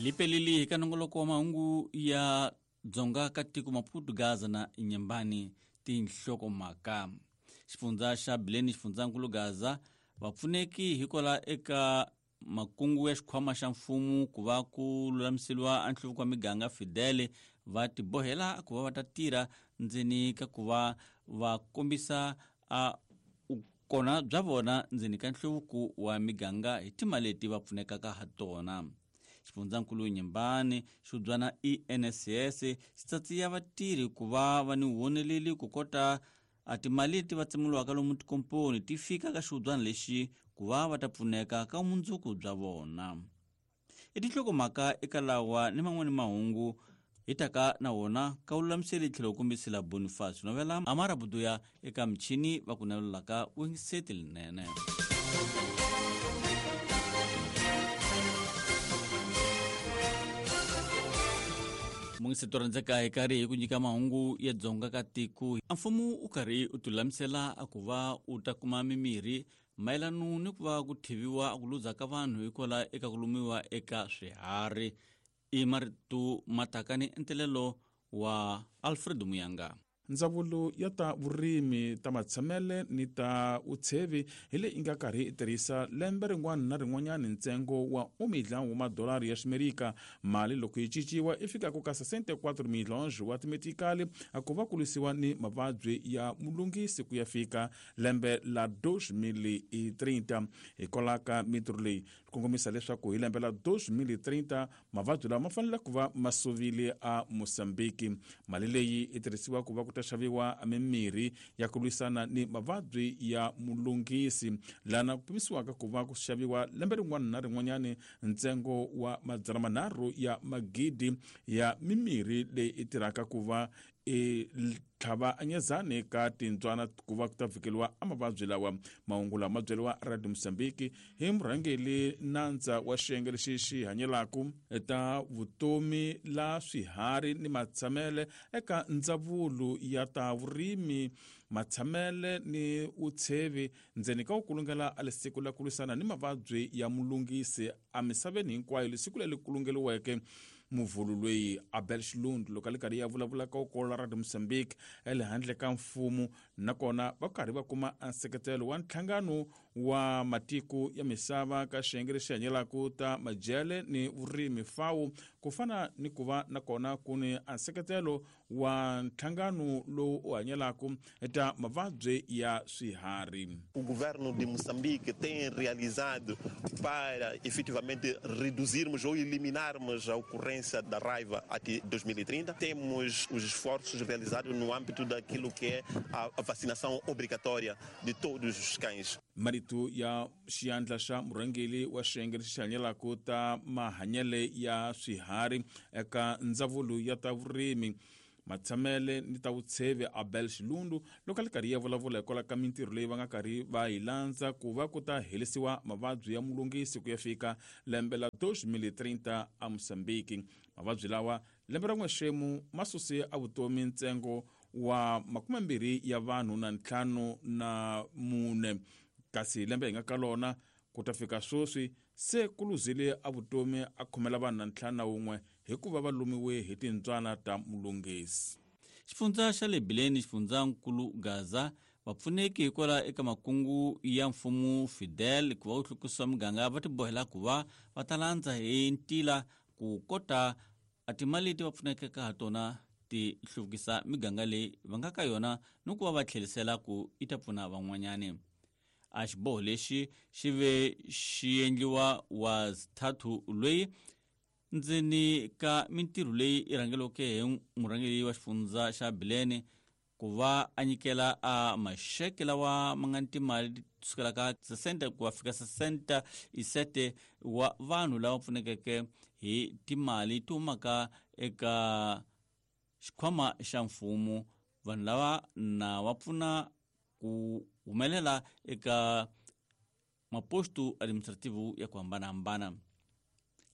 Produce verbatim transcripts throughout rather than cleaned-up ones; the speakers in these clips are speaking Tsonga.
Lipelili ka nongoloko wa mahungu ya Dzonga ka tiko Maputo, Gaza na Inhambane tinhlokomhaka. Xifundza xa Bileni xifundzankulu Gaza vapfuneki hikwala eka makungu ya xikhwama xa mfumo ku va ku lulamiseriwa a nhluvuko wa miganga Fidel va tibohela ku va va ta tirha ndzeni ka ku va va kombisa a kona bya vona ndzeni ka nhluvuko wa miganga hi timali leti va pfunekaka ha tona. Xifundzankulu Inhambane xubyana I N S S xi tsatsiya vatirhi ku va va ni woneleli ku kota a timali leti va tsemuliwaka lomu tikomponi ti fika ka xihubyana lexi ku va va ta pfuneka ka vumundzuku bya vona. I tinhlokomhaka eka lawa ni man'wani mahungu hi taka na wona ka vululamiseli tlhelo kombisela Boniface Novela Amara Buduya eka michini va ku navelelaka vuyingiseti linene. Mungiseti rhandzeka hi karhi hi ku nyika mahungu ya Dzonga ka tiko. A mfumo u karhi u tilulamisela a ku va u ta kuma mimirhi mayelano ni ku va ku thiviwa ku luza ka vanhu hikwalaho eka ku lumiwa eka swiharhi. I marito ma taka ni entelelo wa Alfred Muyanga. Ndzawulo ya ta vurimi ta matshamele ni ta vutshevi hi leyi yi nga karhi yi tirhisa lembe rin'wana na rin'wanyana ntsengo wa un milhão wa madolari ya ximerika. Mali loko yi cinciwa i fikaka ka sessenta e quatro milhões wa timetikali ku va ku lwisiwa ni mavabyi ya mulungisi ku ya fika lembe la dois mil e trinta. Hikwalaho ka mintirho leyi kongomisa leswaku hi lembe la dois mil e trinta mavabyi lawa ma fanele ku va ma suvile a Mozambique. Mali leyi yi tirhisiwa ku va ku ta xaviwa mimirhi ya ku lwisana ni mavabyi ya mulungisi, lana ku pimisiwaka ku va ku xaviwa lembe rin'wana na rin'wanyana ntsengo wa madzana manharhu ya magidi ya mimirhi leyi yi tirhaka ku va i tlhava anyezani ka tintswana ku va ku ta vhikeliwa a mavabyi lawa. Mahungu lama ma byeriwa Radio Mozambique hi murhangeri nandza wa xiyenge lexi xi hanyelaka ta vutomi la swiharhi ni matshamele eka ndzawulo ya ta vurimi, matshamele ni vutshevi ndzeni ka ku kulungela a lesiku la ku lwisana ni mavabyi ya mulungisi emisaveni hinkwayo, lesiku leri kulungeriweke muvhulu loyi Abel Xilundu loko a le karhi ya vulavula ka ukolo Radio Mozambique ele handle ka mfumo, nakona va karhi va kuma nseketelo wa nhlangano wa matiko ya misava ka xiyenge lexi hanyelaka ta madyele ni vurimi FAO, ku fana ni ku va nakona ku ni nseketelo wa nhlangano lowu u hanyelaka ta mavabyi ya swiharhi. O governo de Moçambique tem realizado para efetivamente reduzirmos ou eliminarmos a ocorrência da raiva até dois mil e trinta. Temos os esforços realizados no âmbito daquilo que é a vacinação obrigatória de todos os cães. Marito ya xiyandla xa murhangeri wa xiyenge lexi hanyelaka ta mahanyele ya swiharhi eka ndzawulo ya ta vurimi, matshamele ni ta vutshevi Abel Xilundu loko a le karhi ya vulavula hikwalaho ka mintirho leyi va nga karhi va yi landza ku va ku ta herisiwa mavabyi ya mulungisi ku ya fika lembe la dois mil e trinta a Mozambique. Mavabyi lawa lembe ra n'wexemu ma suse a vutomi ntsengo wa makumembirhi ya vanhu na ntlhanu na mune, kasi lembe hi nga ka lona ku ta fika sweswi se ku luzile a vutomi a khomela vanhu na ntlhanu na wun'we hikuva va lumiwe hi tintswana ta mulungisi. Xifundza xa le Bileni xifundzankulu Gaza vapfuneki hikwalaho eka makungu ya mfumo Fidel ku va wu hlukisa miganga va tibohela ku va va ta landza hi ntila ku kota a timali leti va pfunekaka ha tona ti hluvukisa miganga leyi va nga ka yona ni ku va va tlherisela ku yi ta pfuna van'wanyani. A xiboho lexi xi ve xi endliwa wa thathu loyi ndzeni ka mintirho leyi yi rhangeriweke hi murhangeri wa xifundza xa Bileni ku va a nyikela a maxeke lawa ma nga ni timali kusukela ka sessenta ku va fika sessenta e sete wa vanhu lava pfunekeke hi timali ti humaka eka xikhwama xa mfumo. Vanhu lava na va pfuna ku humelela eka maposto administrativo ya ku hambanahambana.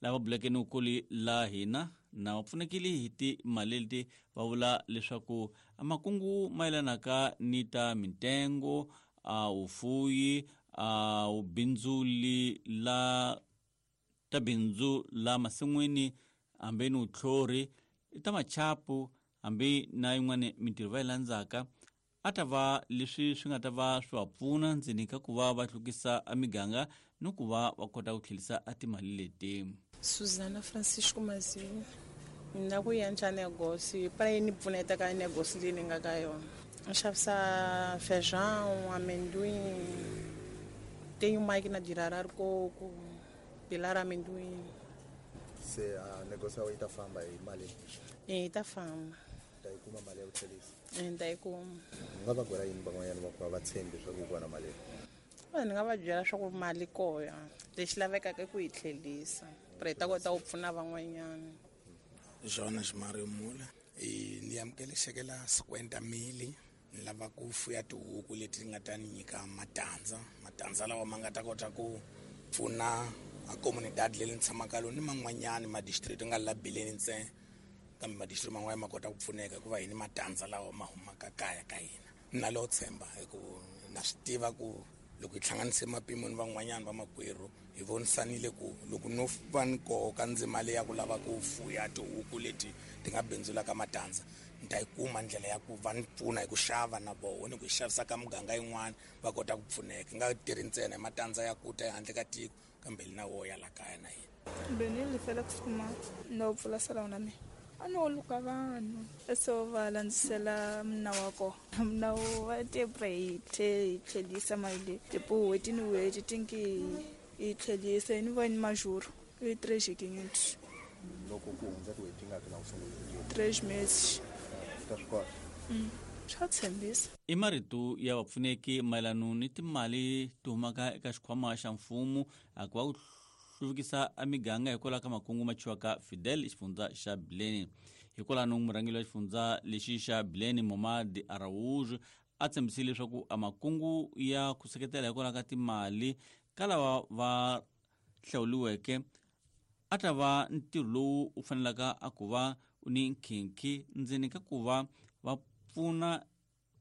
Lava buleke ni ukoli la hina na va pfunekile hi timali leti va vula leswaku makungu mayelanaka ni ta mintengo, a vufuyi, a vubindzuli la ta bindzu la masin'wini hambi ni vutlhori ta machapu hambi na yin'wana mintirho va yi landzaka a ta va leswi swi nga ta va swi va pfuna ndzeni ka ku va va hlukisa emiganga ni ku va va kota ku tlhelisa a timali leti. Suzana Francisco Maziwu, ni na ku endla negócio para yi ni pfuneta ka negócio leyi ni nga ka yona. Ni xavisa feijão, amendoim, tenho máquina de rarar coco, pilar amendoim. Se a negócio ya yi ta famba hi mali? Yi ta famba. Ta yi kuma mali ya ku tlherisa? Ni ta yi kuma. U nga va byela yini van'wanyana va ku va va tshembi swa ku yi kona mali? Ni nga va byela swa ku mali koya lexi lavekaka i ku yi tlherisa para yi ta kota ku pfuna van'wanyana. Jonas Mario Mula, ni amukele xeke la cinquenta mili ni lava ku fuya tihuku leti nga ta ni nyika matandza, matandza lawa ma nga ta kota ku pfuna a comunidade leyi ni tshamaka lona ni man'wanyani ma district nga la Bileni ntsena, kambe ma district man'wana ma kota ku pfuneka hikuva hi ni matandza lawa ma humaka kaya ka hina. Ni na lowo tshemba hi ku na swi tiva ku loko hi hlanganise mapimo ni van'wanyana va makwerhu hi vonisanile ku loko no va ni koka ndzima leyi ya ku lava ku fuya tihuku leti ti nga bindzulaka matandza, ni ta yi kuma ndlela ya ku va ni pfuna hi ku xava na voho ni ku yi xavisa ka muganga yin'wana va kota ku pfuneka. Hi nga tirhi ntsena hi matandza ya ku ta ehandle ka tiko kambe na wo ya la kaya na hina. Benile Felix Kuma no pfula salon na mina. A no luka vanhu so va landzisela mna wa kona mna wa tepre hi tlhelisa mali leyi tipo n'hweti ni n'hweti tinki yi tlhelisa ni va ni majuro i três quinhentos. Loko ku hundza tin'hweti tingaki na ku sungula? Três meses. Ta swi kota? Swa tshembisa. I marito ya vapfuneki mayelana ni timali ti humaka eka xikhwama xa mfumo a ku va ku hluvukisa emiganga hikwalaho ka makungu ma chiwaka Fidel xifundza xa Bileni. Hikwalano murhangeri wa xifundza lexi xa Bileni Momad Araújo a tshembisile leswaku a makungu ya ku seketela hikwalaho ka timali ka lava va hlawuriweke a ta va ntirho lowu u fanelaka a ku va u ni nkhinkhi ndzeni ka ku va va pfuna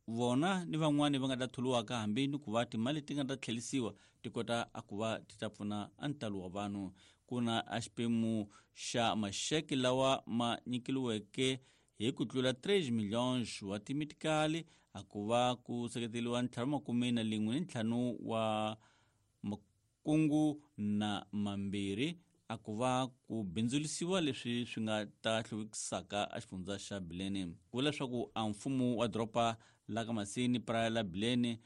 vona ni van'wani va nga ta tholiwaka hambi ni ku va timali ti nga ta tlhelisiwa ti kota a ku va ti ta pfuna a ntalo wa vanhu. Ku na a xiphemu xa maxeke lawa ma nyikeliweke hi ku tlula três milhões wa timitikali a ku va ku seketeriwa ntlhanu makume na lin'we ni ntlhanu wa makungu na mambirhi a ku va ku bindzulisiwa leswi swi nga ta hluvukisaka a xifundza xa Bileni. Ku vula leswaku a mfumo wa doroba la ka Masini Praia la Bileni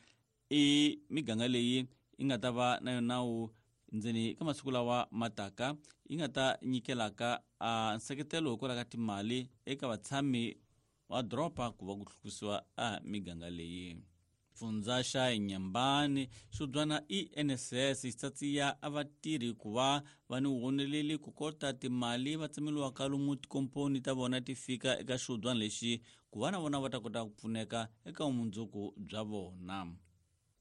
i miganga leyi yi nga ta va na yona nawu ndzeni ka masiku lawa mataka yi nga ta nyikelaka a nseketelo hikwalaho ka timali eka vatshami wa doroba ku va ku hluvukisiwa a miganga leyi. Fundza xa Inhambane xubyana E N S S xi tsatsiya a vatirhi ku va va ni woneleli ku kota timali va tsemeliwaka lomu tikomponi ta vona ti fika eka xubyana lexi ku va na vona va ta kota ku pfuneka eka vumundzuku bya vona.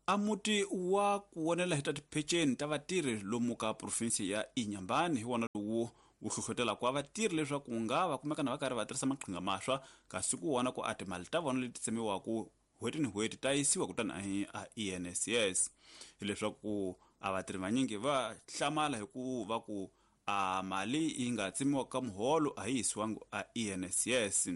A muti wa ku vonela hi ta tipheceni ta vatirhi lomu ka provinsi ya Inhambane hi wona lowu wu hlohlotelaka wa vatirhi leswaku nga va kumeka na va karhi va tirhisa maqhinga maswa kasi ku vona ku a timali ta vona leti tsemiwaka n'hweti ni n'hweti ta yisiwa kutani a E N S S. Hileswaku a vatirhi vanyingi va hlamala hi ku va ku a mali yi nga tsemiwa ka muholo a yi yisiwangi a E N S S.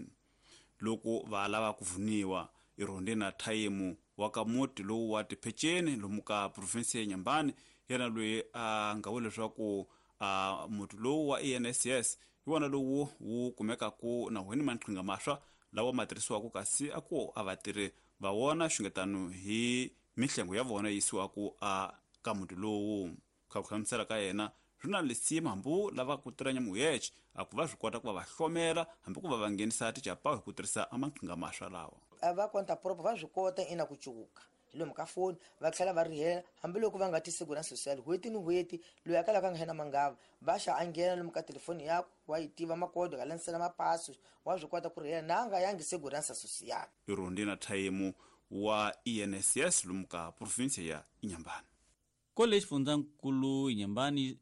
Loko va lava ku vuniwa i na Thayemu wa ka muti lowu wa tipheceni lomu ka provinsi ya Inhambane yena loyi a nga vula leswaku a muti lowu wa E N S S hi wona lowu wu kumekaku na wena maqhinga maswa lawa ma tirhisiwaka kasi a ku a vatirhi va wona xungetano hi mihlengo ya vona yisiwaku a ka muti lowu. Ka ku hlamusela ka yena swi na lisima hambi lava ku tirha nyamuyexe a ku va swi kota ku va va hlomela hambi ku va va nghenisa tichapawu hi ku tirhisa amaqhinga maswa lawa. A va konta proper va swi kota ina ku cuka hi lomu ka foni va tlhela va rihela hambiloko va nga ti segurança social n'hweti ni n'hweti loyi a kalaka a nga hena mangava va xa a nghena lomu ka telefoni yakwe wa yi tiva makodo ka landzisela mapaso wa swi kota ku rihela na a nga yangi segurança social. Irondina Thayemu wa E N S S lomu ka provinsi ya Inhambane. Kole xifundzankulu Inhambane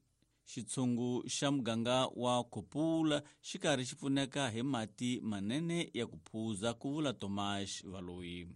xitshungu xa muganga wa Kopula xi karhi xi pfuneka hi mati manene ya ku phuza ku vula Tomas Valoyi.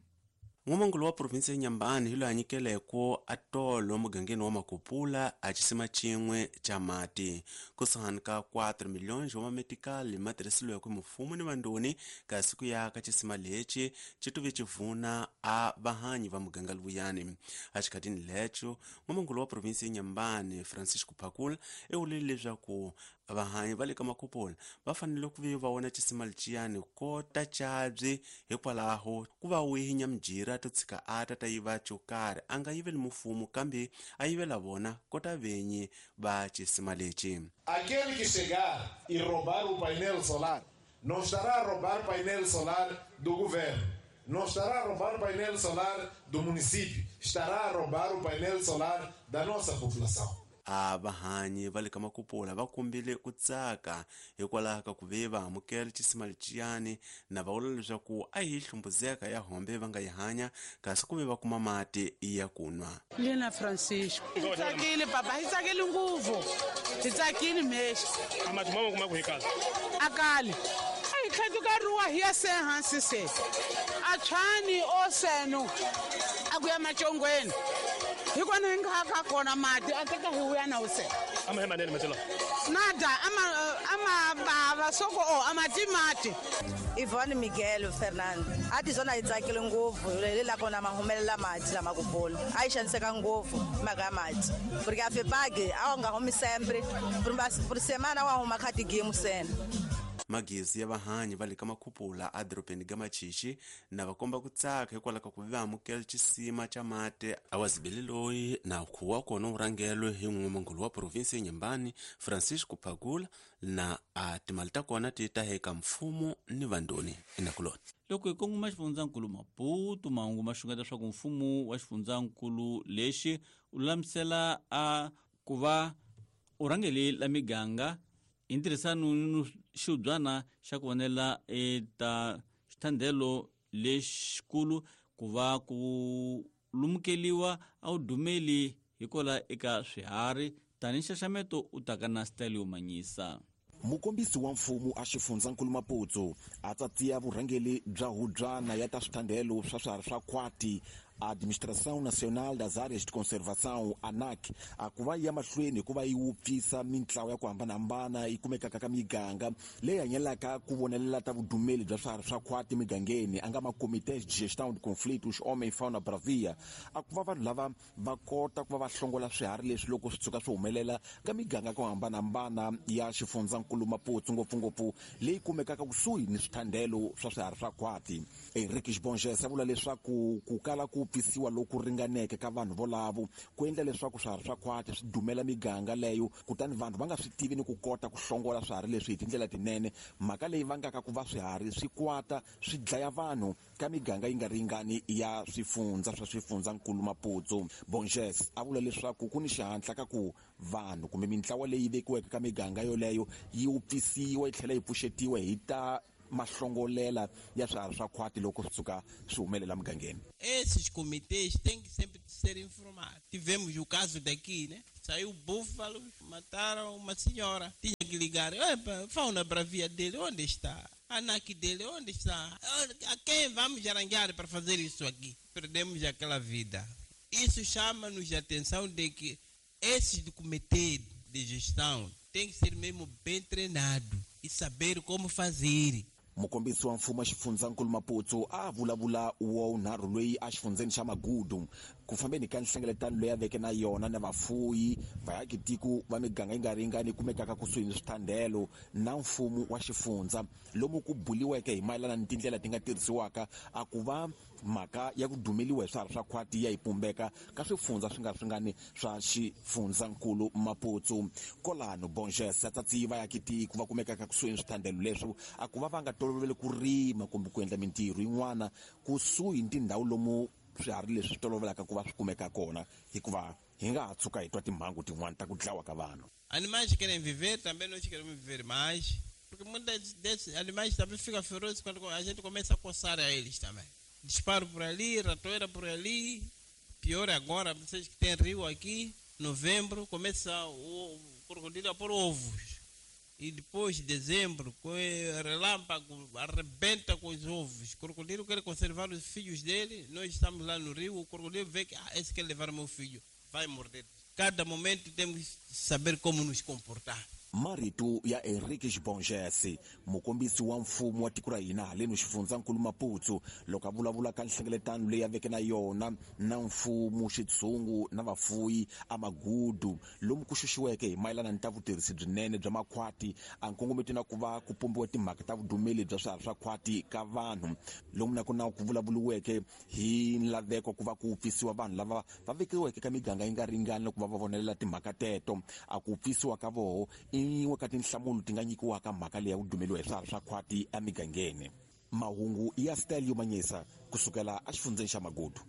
N'wamangulu wa provinsi ya Nyambani hi loyi a nyikeleko a tolo mugangeni wa Makupula a xisima xin'we xa mati kusuhani ka quatro milhões wa mametikali ma tirhisiliweke mfumo ni vandoni kasi ku ya ka xisima lexi xi tuve xivuna a vahanyi va muganga luyani. Exikhatini lexo n'wamangulu wa provinsi ya Nyambani Francisco Phakula i vulile leswaku vahanyi va le ka Makupula va fanele ku ve va vona xisima lexiyani kota cabyi hikwalaho ku va wihinya mujira to tshika a ta ta yiva xo karhi a nga yiveli mfumo kambe a yivela vona kota venyi va xisima lexi. Aquele que chegar e roubar o painel solar não estará a roubar painel solar do governo, não estará a roubar o painel solar do município, estará a roubar o painel solar da nossa população. A vahanyi va le ka Makupula va kombile ku tsaka hikwalaho ka ku ve va amukela xisima lexiyani na va vula leswaku a hi hlumbuzeka ya hombe va nga yi hanya kasi ku ve va kuma mati ya ku nwa. Lena Francisco hi tsakile papa, hi tsakile ngopfu, hi tsakile mexi a mati ma kuma ku hi kala a kali a hi tlhatuka ruwa hi ya se hansi se a tshwani o seno a ku ya macongweni hi kona hi nga ka kona mati a teka hi vuya na use ama hi manene mati lawa nada ama ama bava soko o amati mati. Ivone Miguel Fernando a ti zona yi tsakile ngopfu hi la kona ma humelela mati lama Makupula a yi xaniseka ngopfu mhaka ya mati porque a FEPAG a wu nga humi sempre por semana wa huma kha tigemu sena. Magezi ya vahanyi va le ka Makupula a dorobeni ga Machichi na va komba ku tsaka hikwalaho ka ku va amukela xisima xa mati a wa zibele loyi na khuwa kona wu rhangelwe hi n'wamangulu wa provinsi ya Nyambani Francisco Phakula na a timali ta kona ti ta eka mfumo ni vandoni enakuloni. Loko hi kongoma xifundzankulu Maputo, mahungu ma xungeta leswaku mfumo wa xifundzankulu lexi u lulamisela a ku va u rhangeli la miganga hi ntirhisano ni xibyana xa ku vonela eta xithandelo lexikulu ku va ku lumukeliwa a wu dumeli hikola eka swiharhi tanihi nxaxameto u taka na style yo manyisa. Mukombisi wa mfumo a xifundzankulu Maputo a tsatsiya vurhangeli bya hubyana ya ta swithandelo swa swiharhi swa khwati Administração Nacional das Áreas de Conservação, ANAC, a ku va ya mahlweni ku va yi wupfisa mintlawa ya ku hambanahambana yi kumekaka ka miganga leyi hanyelaka ku vonelela ta vudumeli bya swiharhi swa khwati migangeni a nga ma-Comités de Gestão de Conflitos Homem Fauna Bravia a ku va vanhu lava va kota ku va va hlongola swiharhi leswi loko swi tshuka swi humelela ka miganga ku hambanahambana ya xifundzankulu Maputo ngopfungopfu leyi kumekaka kusuhi ni swithandelo swa swiharhi swa khwati. Henrique Bonges a vula leswaku ku kala ku pfisiwa loku ringaneke ka vanhu volavo ku endla leswaku swiharhi swa khwati swi dumela miganga leyo kutani vanhu va nga swi tivi ni ku kota ku hlongola swiharhi leswi hi tindlela tinene, mhaka leyi vangaka ku va swiharhi swi kwata swi dlaya vanhu ka miganga yi nga ringani ya swifundza swa xifundzankulu Maputo. Bonges a vula leswaku ku ni xihatla ka ku vanhu kumbe mintlawa leyi vekiweke ka miganga yoleyo yi wupfisiwa yi tlhela yi pfuxetiwa hi ta mahlongolela ya swiharhi swa khwati loko swi tshuka swi humelela mugangeni. Esses comitês têm que sempre ser informados. Tivemos o caso daqui, né? Saiu búfalo, mataram uma senhora. Tinha que ligar. Epa, fauna bravia dele, onde está? A ANAC dele, onde está? A quem vamos arranjar para fazer isso aqui? Perdemos aquela vida. Isso chama-nos a atenção de que esses comitês de gestão têm que ser mesmo bem treinados e saber como fazer. Mukombisi wa mfumo wa xifundzankulu Maputo a vulavula wa wunharhu loyi a xifundzeni xa Magudu ku fambeni ka nhlengeletano leyi a veke na yona na vafuyi vaakitiko va miganga yi nga ringani kumekaka kusuhi ni swithandelo na mfumo wa xifundza lomu ku buliweke hi mayelana ni tindlela ti nga tirhisiwaka a ku va mhaka ya ku dumeliwa hi swiharhi swa khwati ya yi pumbeka ka swifundza swi nga ringani swa xifundzankulu Maputo. Kolano Bonges a tsatsiyi vaakitiko va kumekaka kusuhi ni swithandelo leswi a ku va va nga tolovele ku rima kumbe ku endla mintirho yin'wana kusuhi ni tindhawu lomu swiharhi leswi swi tolovelaka ku va swi kumeka kona hikuva hi nga ha tshuka hi twa timhangu tin'wana ta ku dlawa ka vanhu. Animais querem viver, também nós queremos viver mais, porque muitos desses animais também ficam ferozes quando a gente começa a coçar a eles também. Disparo por ali, ratoeira por ali, pior agora, vocês que têm rio aqui, novembro, começa o crocodilo a pôr ovos. E depois de dezembro, com relâmpago, arrebenta com os ovos. O crocodilo quer conservar os filhos dele. Nós estamos lá no rio, o crocodilo vê que ah, esse quer levar meu filho, vai morder. Cada momento temos que saber como nos comportar. Marito ya Henrique Bongese, mukombisi wa mfumo wa tiko ra hina haleno xifundzankulu Maputo, loko a vulavula ka nhlengeletano leyi a veke na yona na mfumo, xitshungu na vafuyi a Magudu, lomu ku xuxiweke hi mayelana ni ta vutirhisi byinene bya makhwati, a nkongometo na ku va ku pombiwa timhaka ta vudumeli bya swiharhi swa khwati ka vanhu, lomu na kona ku vulavuriweke hi nlaveko ku va ku pfisiwa vanhu lava va vekiweke ka miganga yi nga ringani ku va va vonelela timhaka teto. A ku pfisiwa ka voho i yin'we ka tinhlamulo ti nga nyikiwaka mhaka leyi ya ku dumeliwa hi swiharhi swa khwati emigangeni. Mahungu ya Stelio Manyesa kusukela exifundzeni xa Magudu.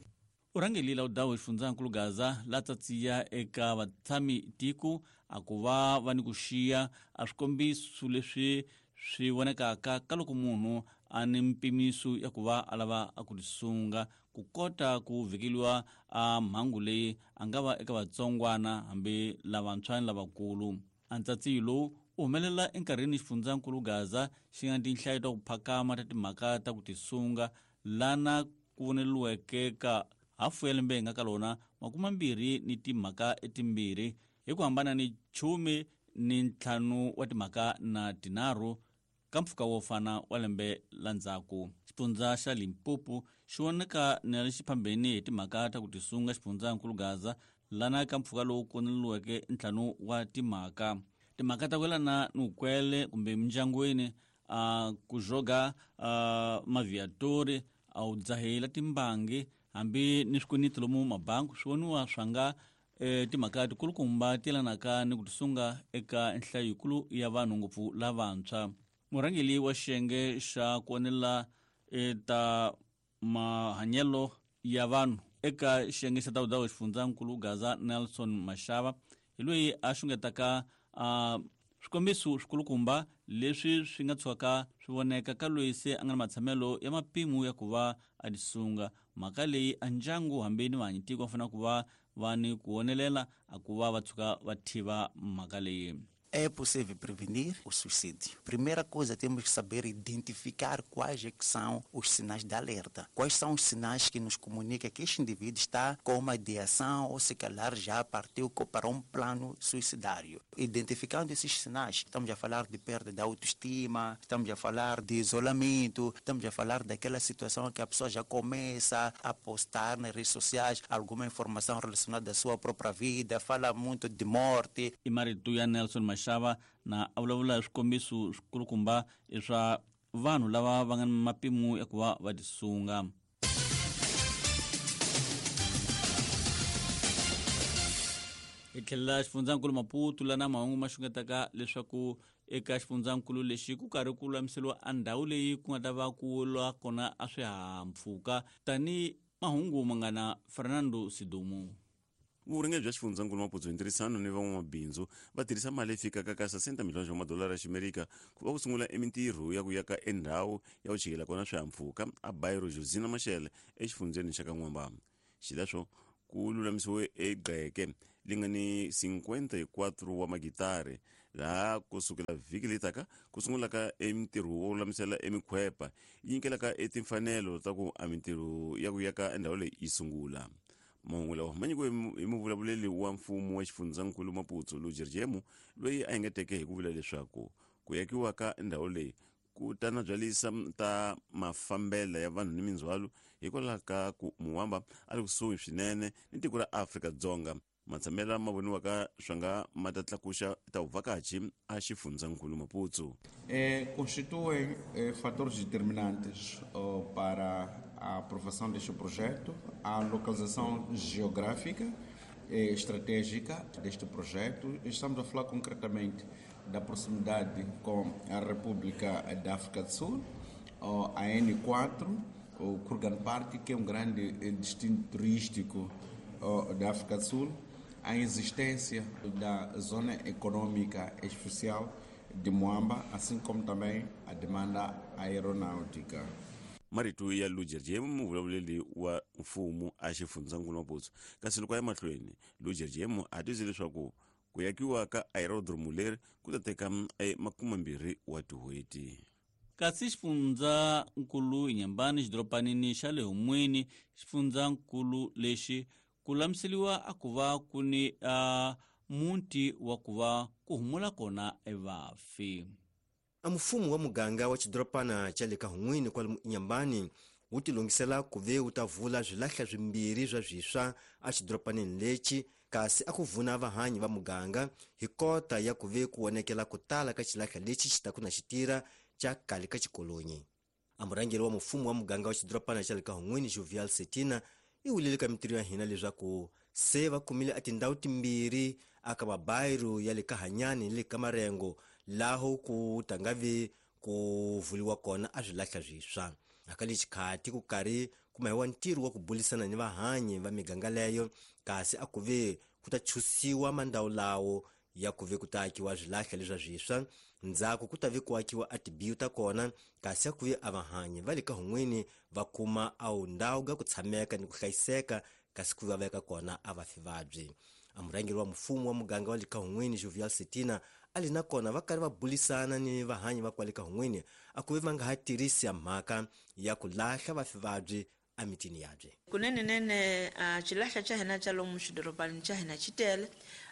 Urhangelile udawu xifundzankulu Gaza la tsatsiya eka vatshami tiko a ku va va ni ku xiya a swikombiso leswi swi vonekaka ka loko munhu a ni mpimiso ya ku va a lava a ku tisunga ku kota ku vhikeliwa a mhangu leyi a nga va eka vatsongwana hambi lavantshwa ni lavakulu. Antsatsiyo lowu u humelela enkarhini xifundzankulu Gaza xi nga tinhlayo ta ku phakama ta timhaka ta ku tisunga lana ku voneliweke ka hafu ya lembe hi nga ka lona makumambirhi ni timhaka etimbirhi hi ku hambana ni chumi ni ntlhanu wa timhaka na tinharhu ka mpfhuka wo fana wa lembe la ndzhaku. Xifundza xa Limpopo xi voneka na le xiphambeni hi timhaka ta ku tisunga xifundzankulu Gaza lana ka mpfhuka lowu koneliweke ntlhanu wa timhaka. Timhaka ta ku yelana ni vukwele kumbe mindyangwini, a ku joga maviatori, a wu dzahela timbangi hambi ni swikweleti lomu mabangi swi voniwa swa nga e, timhaka tikulukumba ti yelanaka ni ku tisunga eka nhlayo yikulu ya vanhu ngopfu lavantshwa. Murhangeri wa xiyenge xa ku onela ta mahanyelo ya vanhu eka xiyenge xa tawudawu xifundzankulu Gaza Nelson Mashava hi loyi a xungetaka a swikombiso swikulukumba leswi swi nga tshukaka swi voneka ka loyi se a nga na matshamelo ya mapimo ya ku va a tisunga. Mhaka leyi a ndyangu hambi ni vahanyitiko va fanele ku va va ni ku vonelela a ku va va tshuka va tiva mhaka leyi. É possível prevenir o suicídio. Primeira coisa, temos que saber identificar quais é que são os sinais de alerta. Quais são os sinais que nos comunicam que este indivíduo está com uma ideação ou se calhar já partiu para um plano suicidário. Identificando esses sinais, estamos a falar de perda de autoestima, estamos a falar de isolamento, estamos a falar daquela situação que a pessoa já começa a postar nas redes sociais alguma informação relacionada à sua própria vida, fala muito de morte. E marito ya Nelson Mashava na a vulavula hi swikombiso swikulukumba swa vanhu lava va nga ni mapimo ya ku va va tisunga. Hi tlhelela xifundzankulu Maputo lana mahungu ma xungetaka leswaku eka xifundzankulu lexi ku karhi ku lulamiseriwa a ndhawu leyi ku nga ta va ku lwa kona a swihahampfhuka tani mahungu ma nga na Fernando Sidumu. Vurhangeri bya xifundzankulu Maputo hi ntirhisano ni van'wamabindzu va tirhisa mali leyi fikaka ka sesenta milhone wa madolara ya ximerika ku va ku sungula emintirho ya ku yaka endhawu ya ku chikela kona swihahampfhuka a Bairro Josina Machel exifundzeni xa ka N'wamba. Xileswo ku lulamisiwe egqeke li nga ni cinquenta e quatro wa magitari laha ku sukela vhiki leyi taka ku sungulaka emintirho wo lulamisela emikhwepa yi nyikelaka etimfanelo ta ku a mintirho ya ku yaka endhawu leyi yi sungula. Mahungu lawa ma nyikiwe hi muvulavuleli wa mfumo wa xifundzankulu Maputo Lujer Jemu loyi a engeteke hi ku vula leswaku ku yakiwa ka ndhawu leyi ku ta na byalisa ta mafambela ya vanhu ni mindzhwalo hikwalaho ka ku Muwamba a ri kusuhi swinene ni tiko ra Afrika-Dzonga. Matshamela ma voniwaka swa nga ma ta tlakuxa ta vuvhakachi a xifundzankulu Maputo. Eh, constituem eh, fatores determinantes oh, para a aprovação deste projeto, a localização geográfica e estratégica deste projeto. Estamos a falar concretamente da proximidade com a República da África do Sul, oh, a N quatro, o Kruger Park, que é um grande destino turístico oh, da África do Sul, a existência da Zona Econômica Especial de Moamba, assim como também a demanda aeronáutica. Marito ya Lujer Jemu muvulavuleli wa mfumo a xifundzankulu Maputo. Kasi loko ya mahlweni Lujer Jemu a tise leswaku Ku yakiwa ka aerodromo leri ku ta teka makumembirhi wa tin'hweti. Kasi xifundzankulu Inhambane xidoropanini xa le Humwini, xifundzankulu lexi ku lamiseliwa a ku va ku ni uh, muti wa ku va ku humula kona evafi. A mfumo wa muganga wa xidorobana xa le ka Hun'wini kwalomu Inhambane wu tilungisela ku ve wu ta vula swilahla swimbirhi swa swiswa a xidorobaneni lexi, kasi a ku vuna vahanyi va muganga hi kota ya ku ve ku vonekela ku tala ka xilahla lexi xi ta ku na xitira xa kale ka xikolonyi. A murhangeri wa mfumo wa muganga wa xidorobana xa le ka Hun'wini Jovial Setina i wulile ka mitirho ya hina leswaku se va kumile a tindhawu timbirhi aka mabayiru ya le ka Hanyani ni le ka Marengo laho ku ta nga vi ku vuliwa kona a swilahla swiswa. Aka lexi khati ku karhi ku mahiwa ntirho wa ku bulisana ni vahanyi va miganga leyo, kasi a ku ve ku ta chusiwa mandhawu lawo ya ku ve ku ta akiwa swilahla leswa swiswa, ndzhaku ku ta ve ku akiwa a tibiyu ta kona, kasi a ku ve a vahanyi va le ka Hun'wini va kuma a wu ndhawu ga ku tshameka ni ku hlayiseka, kasi ku va veka kona a vafi vabyi. A murhangeri wa mfumo wa muganga wa le ka Hun'wini Jovial Setina a li na kona va karhi va bulisana ni vahanyi va kwale ka Hun'wini a ku ve va nga ha tirhisi ya mhaka ya ku lahla vafi vabyi emitini yabye. Kunene nene a xilahla xa hina xa lomu xidorobanini xa hina xi tele.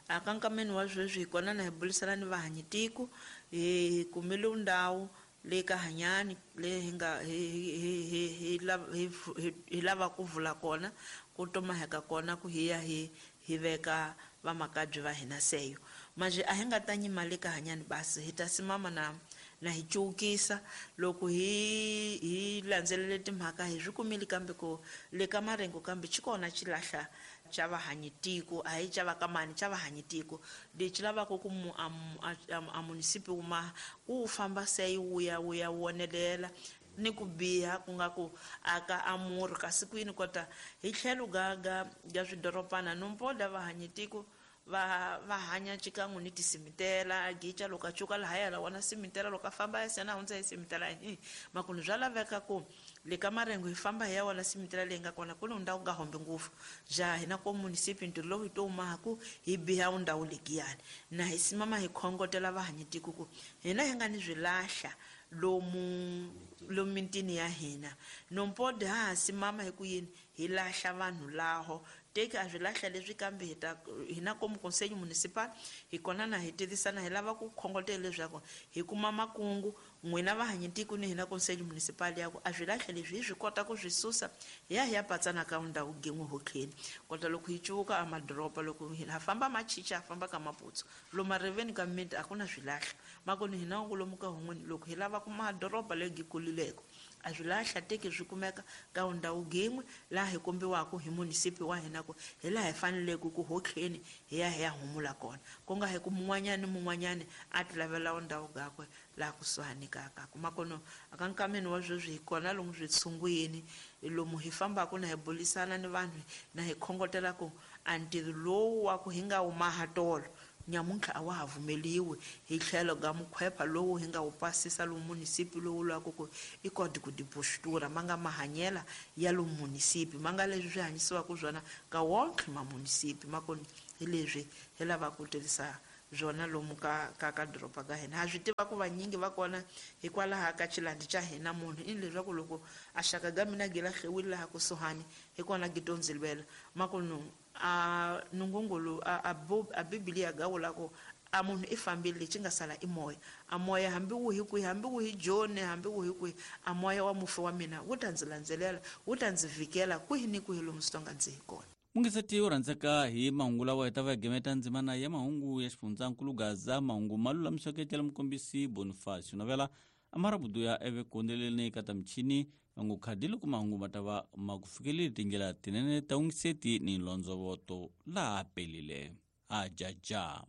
A ka nkameni wa sweswi hi kona na hi bulisana ni vahanyi tiko, hi kumile ndhawu le ka Hanyani le hi nga hi hi hi hi hi lava ku vula kona ku tomaheka kona ku hi ya hi hi veka vamakabye va hina seyo. Manje a hi nga ta nyima le ka Hanyani basi hi ta simama na na hi cukisa loko hi hi landzelele timhaka hi swi kumile kambe ku le ka Marengo kambe xi kona xilahla xa vahanyi tiko, a hi xa va ka mani, xa vahanyi tiko lexi lavaka ku mu a munisipi wu ma ku famba se wu ya wu ya wonelela ni ku biha ku nga ku aka amuri kasi kwini kota hi tlhelo ga ga ga swidorobana nompoda vahanyi tiko va va hanya xikan'we ni tisimitela gicha loko a cuka lahaya la wona simitela loko a famba ya sena hundza hi simitela hi makunu bya laveka ku le ka Marengo hi famba hi ya wona simitela leyi nga kona ku ni ndhawu nga hombi ngopfu ja hina ko munisipi ntirho lowu hi to maku hi biha ndhawu legiyani na hi simama hi khongotela vahanyi tiko ku hina hi nga ni swilahla lomu lomu mitini ya hina nompode ha ha simama hi ku yini hi lahla vanhu laho teki a swilahla leswi kambe hi ta hina komu conseil municipal hi kona na hi tivisana hi lava ku khongotela leswaku hi kuma makungu n'wina vahanyi tiko ni hina conseil municipal ya ku a swilahla leswi hi swi kota ku swi susa hi ya hi ya patsana ka ndhawu gin'we hotlheni kota loko hi cuka a madoroba loko hina famba machicha famba ka Maputsu lomu mariveni ka miti a ku na swilahla makoni hina ku lomu ka Hun'wini loko hi lava ku madoroba leyi kulileko a swilahla teki swi kumeka ka ndhawu gin'we laha hi kombiwaka hi munisipi wa hina ku hi laha hi faneleke ku hotlheni hi ya hi ya humula kona ku nga hi ku mun'wanyani mun'wanyani a ti lavela ndhawu gakwe laha kusuhani ka ka kuma kono aka nkameni wa sweswi hi kona lomu switshungwini lomu hi fambaka na hi bulisana ni vanhu na hi khongotela ku a ntirho lowu wa ku hi nga wu maha tolo nyamuntlha a wa ha vumeliwi hi tlhelo ga mukhwepha lowu hi nga wu pasisa lomu munisipi lowu lwaku ku i koti ku dipostura ma nga mahanyela ya lomu munisipi ma nga leswi swi hanyisiwaka swona ka wonke ma munisipi makoni hi leswi hi lavaka ku tirhisa byona lomu ka ka ka doroba ka hina. Ha swi tiva ku vanyingi va kona hikwalaho ka xilandi xa hina munhu i leswaku loko a xaka ga mina gi lahliwile laha kusuhani hi kona gi to ndzi lwela makonu a nungungulu a a bibiliya ga vula ku a munhu i fambile lexi nga sala i moya a moya hambi wu hi kwihi hambi wu hi joni hambi wu hi kwihi a moya wa mufi wa mina wu ta ndzi landzelela wu ta ndzi vhikela kwihi ni kwihi lomu swi tonga ndzi hi kona. Mungiseti u rhandzeka hi mahungu lawa hi ta va hi gemeta ndzimana ya mahungu ya xifundzankulu Gaza mahungu ma lulamiseke tela mukombisi Boniface Navela amarabudu ya eve kondeleleni ka ta michini vangu khadi loko mahungu ma ta va ma ku fikeleli tindlela tinene ta ungiseti ni lonzovoto laha pelile a jajama.